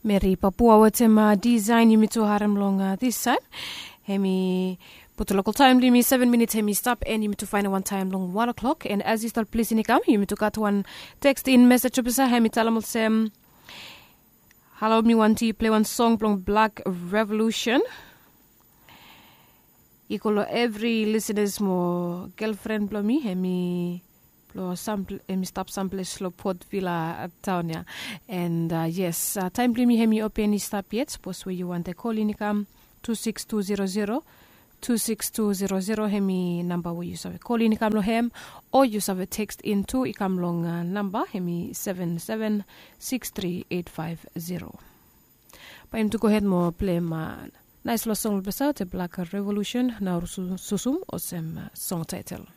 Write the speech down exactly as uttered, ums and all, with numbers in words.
Meri papua wetem disain yumi tu harem long disain. Hemi putu lokal taim blong yumi seven minits hemi stap en yumi tu fain wan taim long wan o'klok en as yu stap plis ini kam yumi tu gat wan teks in mesej opisa hemi talem olsem, halo mi wanti plei wan song blong blak revolution. I go long evri lisinas mo gelfren blong mi hemi blong sam hemi stap samples long port vila taun ya. And yes, taim blong mi hemi open i stap yet sapos we yu wantai kolin i kam tu siks tu zero zero tu siks tu zero zero hemi namba we yu save kolin i kam long hem, o yu save tekst in tu i kam long namba hemi seven seven siks tri eit faiv zero. Bae yumi tu gohed mo pleim nais long song blong besaut e blak revolution na ol susum olsem song taitel.